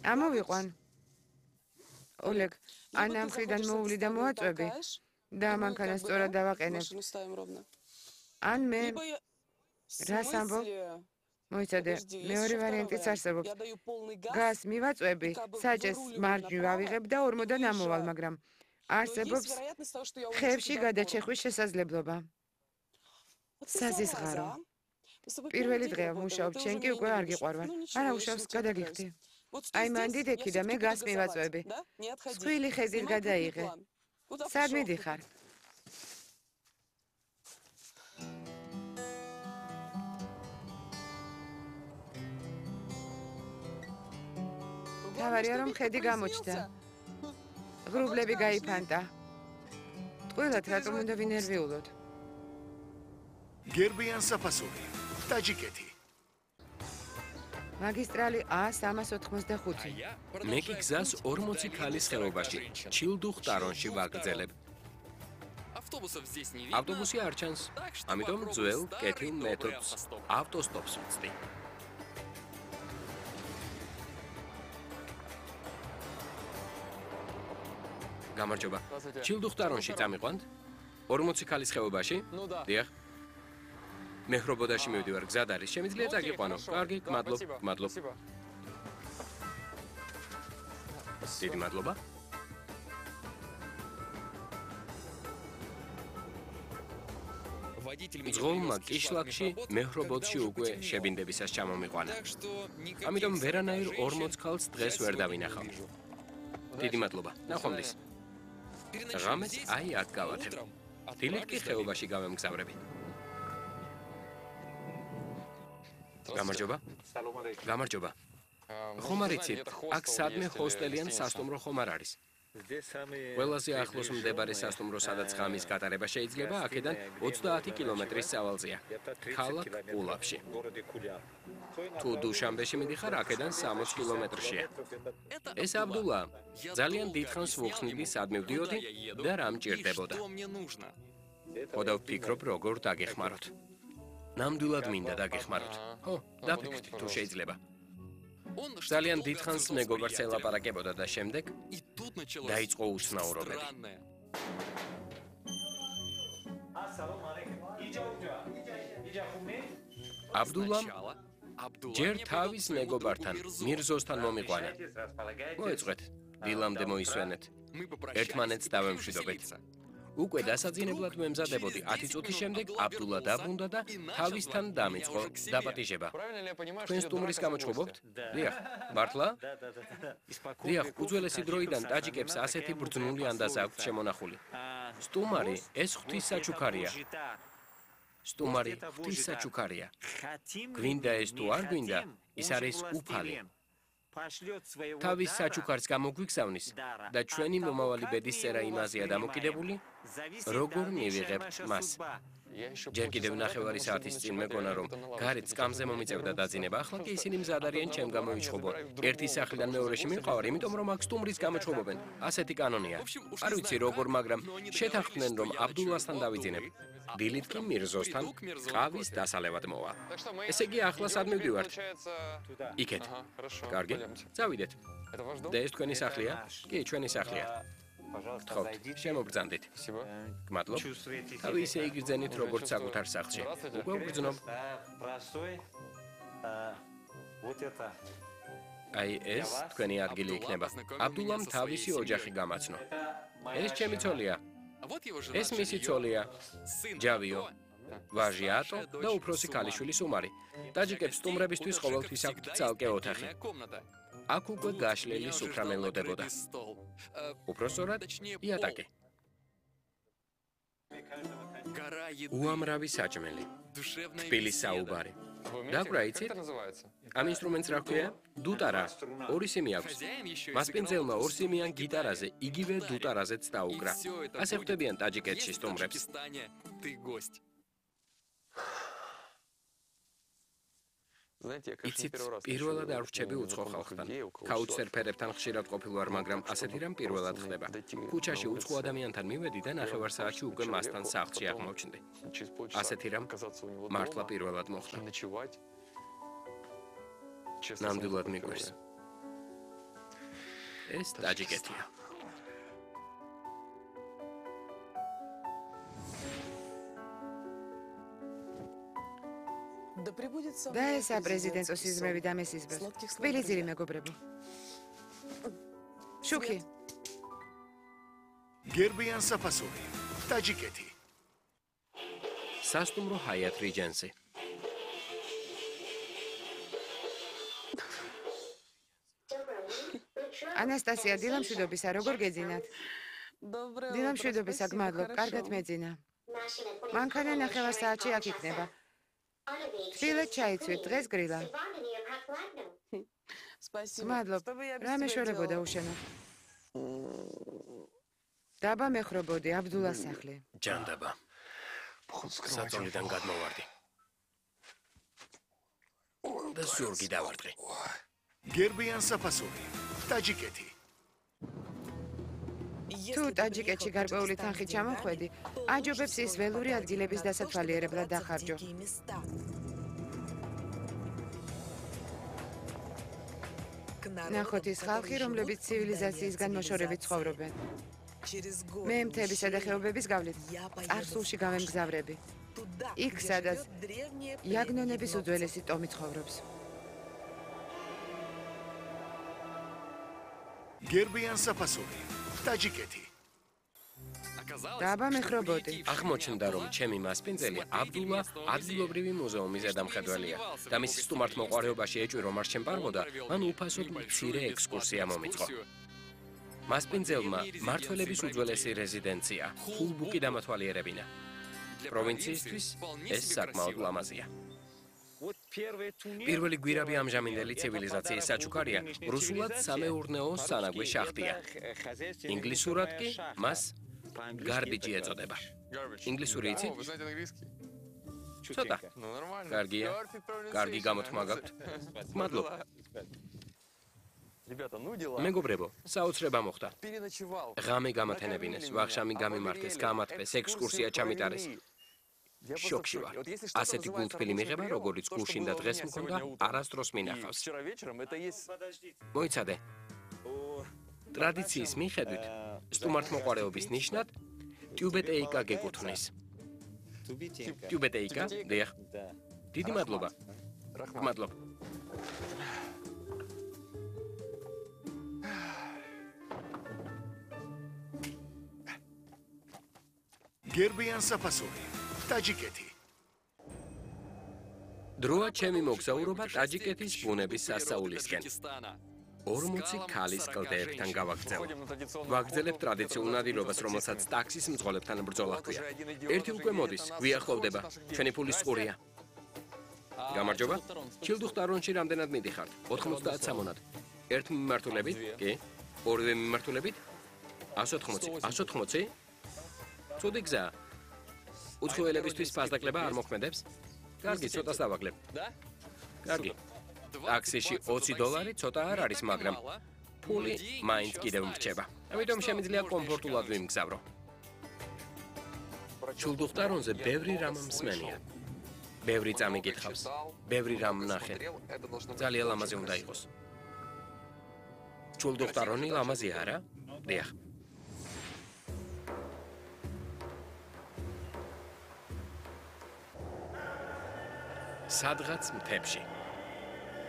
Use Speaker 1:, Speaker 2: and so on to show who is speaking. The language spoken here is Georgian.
Speaker 1: ამოვიყვან. ოლეგ, ან ამ მხრიდან მოვლი და მოაწვევი და მანქანა სწორად დავაყენებ. ან მე რას ამბობ? მოიცადე, მეორე ვარიანტიც არსებობს. გას მივაწვევი, საჭეს მარჯვნივ ავიღებ და ორმოდან ამოვალ, მაგრამ არსებობს ხევში გადაჩეხვის შესაძლებლობა. საზისღარო. პირველი დღეა მუშაობ, შენ კი უკვე არ გიყვარვარ. არა უშავს, გადაგიხდი. აი მან დიდექი და მე გას მივაწვევი. სხვილი ხეზით გადაიღე. სად მიდიხარ? თავარია რომ ხედი გამოჩნდა. ღრუბლები გაიფანტა. ტყუილად რატომ უნდა ვინერვიულოთ?
Speaker 2: გერბიან საფასური, ტაჯიკეთი.
Speaker 1: მაგისტრალი A385.
Speaker 3: მე კი გზას 40 ქალის ხეობაში, ჩილდუხტარონში ვაგრძელებ. ავტობუსი არ ჩანს, ამიტომ ძველ კეთილ მეთოდს ავტოსტოპს ვწდი. გამარჯობა. ჩილდუხტარონში წამიყვანთ? 40 ქალის ხეობაში? დიახ. მეხრობოდაში მივდივარ, გზად არის, შემიძლია წაგიყვანო. კარგი, გმადლობ. დიდი მადლობა. ძღოლმა კიშლაკში მეხრობოდში უკვე შებინდებისას ჩამომიყვანა. ამიტომ ვერანაირ 40 ქალს დღეს ვერ დავინახავ. დიდი მადლობა. ნახვამდის. ღამეს აი აქ გავათებ. დილით კი ხეობაში გავემგზავრები. გამარჯობა. ხომ არ იცით, აქ სადმე ჰოსტელი ან სასტუმრო ხომ არ არის? ყველაზე ახლოს მდებარე სასტუმრო, სადაც ღამის გატარება შეიძლება, აქედან 30 კილომეტრის სავალზეა. ქალაქ კულაბში. თუ დუშანბეში მიდიხარ, აქედან 60 კილომეტრშია. ეს აბდულა, ძალიან დიდხანს ვუხსნიდი, სად მივდიოდი და რა მჭირდებოდა. ხოდა ვფიქრობ, როგორ დაგეხმაროთ. ნამდვილად მინდა დაგეხმაროთ. ხო, დაფიქრდი, თუ შეიძლება. ძალიან დიდხანს მეგობარს ელაპარაკებოდა და შემდეგ დაიწყო უცნაურობები. აბდულამ ჯერ თავის მეგობართან, მირზოსთან მომიყვანა. მოეწყვეთ, დილამდე მოისვენეთ. ერთმანეთს დავემშვიდობეთ. უკვე დასაძინებლად ვემზადებოდი 10 წუთის შემდეგ აბდულა დაბრუნდა და თავისთან დამიწყო დაპატიჟება. თქვენ სტუმრის გამოჩხუბობთ? დიახ, მართლა? დიახ, უძველესი დროიდან ტაჯიკებს ასეთი ბრძნული ანდაზა აქვთ შემონახული. სტუმარი ეს ღვთისსაჩუქარია. სტუმარი ღვთისსაჩუქარია. გვინდა ეს თუ არ გვინდა, ის არის უფალი. თავის საჩუქარს გამოგვიგზავნის და ჩვენი მომავალი ბედის წერა იმაზეა დამოკიდებული, როგორ მივიღებთ მას. ჯერ კიდევ ნახევარი საათის წინ მეგონა რომ გარეთ სკამზე მომიწევდა დაძინება, ახლა კი ისინი მზად არიან ჩემ გამოიჩხუბო. ერთი სახლიდან მეორეში მივყავარ, იმიტომ რომ აქ სტუმრის გამოჩხუბობენ. ასეთი კანონია. არ ვიცი როგორ, მაგრამ შეთანხმდნენ რომ აბდულასთან დავიძინებ. დილით კი მირზოსთან ყავის დასალევად მოვა. ესე იგი ახლა სად მივდივართ? იქეთ. კარგი, წავიდეთ. და ეს თქვენი სახლია? კი, ჩვენი სახლია. გთხოვთ, შემოგბრძანდით. გმადლობ. თავი ისე იგრძენით, როგორც საკუთარ სახლში. უკვე ვგრძნობ. აი ეს თქვენი ადგილი იქნება. აბდულამ თავისი ოჯახი გამაცნო. ეს ჩემი ცოლია. ეს მისი ცოლია. ჯავიო. ვაჟი ატო და უფროსი ქალიშვილი სუმარი. ტაჯიკებს სტუმრებისთვის ყოველთვის აქვთ ცალკე ოთახი. აქ უკვე გაშლილი სუფრა მელოდებოდა. უпроსწორად იატაკი. უამრავი საჭმელი. თბილი საუბარი. დაკვრა იცით? ამ ინსტრუმენტს რა ქვია? დუტარა. ორი სიმი აქვს. მასპინძელმა ორსიმიან გიტარაზე, იგივე დუტარაზეც დაუკრა. ასე ხვდებიან ტაჯიკეთში სტუმრებს. იცით, პირველად არ ვრჩები უცხო ხალხთან. კაუჩსერფერებთან ხშირად ყოფილვარ, მაგრამ ასეთი რამ პირველად ხდება. ქუჩაში უცხო ადამიანთან მივედი და ნახევარ საათში უკვე მასთან სახლში აღმოჩნდი. ასეთი რამ მართლა პირველად მოხდა. ნამდვილად მიგვერს. ეს ტაჯიკეთია.
Speaker 1: და ესა პრეზიდენტო სიზმრები და მესიზმრებს. თბილი ძირი მეგობრებო. შუქი.
Speaker 2: გერბიან საფასური. ტაჯიკეთი.
Speaker 3: სასტუმრო ჰაიათ რიჯენსი.
Speaker 1: ანასტასია, დილამშვიდობისა, როგორ გეძინათ? დილამშვიდობისა, გმადლობ, კარგად მეძინა. მანქანა 9 საათში აქ იქნება. თბილად ჩაიცვით, დღეს გრილა. გმადლობ, რა მეშორებოდა უშენო? დაბა მეხრობოდი, აბდულას სახლი.
Speaker 3: ჯანდაბა. საწოლიდან გადმოვარდი. და ზურგი დავარტყი.
Speaker 2: გერბიან საფასური. ტაჯიკეთი.
Speaker 1: თუ ტაჯიკეთში გარკვეული თანხით ჩამოხვედი, აჯობებს ის ველური ადგილების დასათვალიერებლად დახარჯო. ნახოთ ის ხალხი, რომლებიც ცივილიზაციისგან მოშორებით ცხოვრობენ. მე მთებისა და ხეობების გავლით წარსულში გამემგზავრები. იქ, სადაც იაგნონების უძველესი ტომი ცხოვრობს.
Speaker 2: გერბიან საფასური. ტაჯიკეთი.
Speaker 1: დაბა მეხრობოდი.
Speaker 3: აღმოჩნდა, რომ ჩემი მასპინძელი აბდულა ადგილობრივი მუზეუმის ზედამხედველია და მის სტუმართმოყვარეობაში ეჭვი რომ არ შემპარბოდა, მან უფასოდ მცირე ექსკურსია მომიწყო. მასპინძელმა მართველების უძველესი რეზიდენცია, ხულბუკი დამათვალიერებინა. პროვინციისთვის ეს საკმაოდ ლამაზია. პირველი გვირაბი ამჟამინდელი ცივილიზაციის საჩუქარია, რუსულად სამეურნეო სანაგვი შახტია. ინგლისურად კი მას garbage ეწოდება. ინგლისური იცით? ცოტა. კარგია. კარგი გამოთქმა გაქვთ. მადლობ. მეგობრებო, საოცრება მოხდა. ღამე გამათენებინეს, ვახშამი გამიმართეს, გამათბეს, ექსკურსია ჩამიტარეს. შოკში ვარ. ასეთი გულთბილი მიღება, როგორც გუშინ და დღეს მქონდა, არასდროს მინახავს. მოიცადე. ტრადიციის მიხედვით, სტუმართმოყვარეობის ნიშნად ტიუბეტეიკა გეკუთვნის. ტიუბეტეიკა? დიახ. დიდი მადლობა. მადლობ.
Speaker 2: გერბიან საფასური. ტაჯიკეთი.
Speaker 3: დროა ჩემი მოგზაურობა ტაჯიკეთის ბუნების სასწაულისკენ. 40 ქალის კლდეებთან გავაგრძელებ. ვაგრძელებ ტრადიციულ ნადირობას, რომელსაც ტაქსის მძღოლებთან ბრძოლა ჰქვია. ერთი უკვე მოდის, გვიახლოვდება. ჩვენი ფულის ყურია. გამარჯობა. ჩილდუხტარონში რამდენად მიდიხართ? 90 სამონად. ერთ მიმართულებით? კი. ორივე მიმართულებით? 180. 180? ცუდი გზაა. უცხოელებისთვის ფასდაკლება არ მოქმედებს? კარგი, ცოტას დავაკლებ. კარგი. ტაქსიში $20 ცოტა არ არის, მაგრამ ფული მაინც კიდევ მრჩება. ამიტომ შემიძლია კომფორტულად ვიმგზავრო. ჩულდუხტარონზე ბევრი რამ მსმენია. ბევრი წამი გითხავს. ბევრი რამ ნახე. ძალიან ლამაზი უნდა იყოს. ჩულდუხტარონი ლამაზია, არა? დიახ. სადღაც მთებში.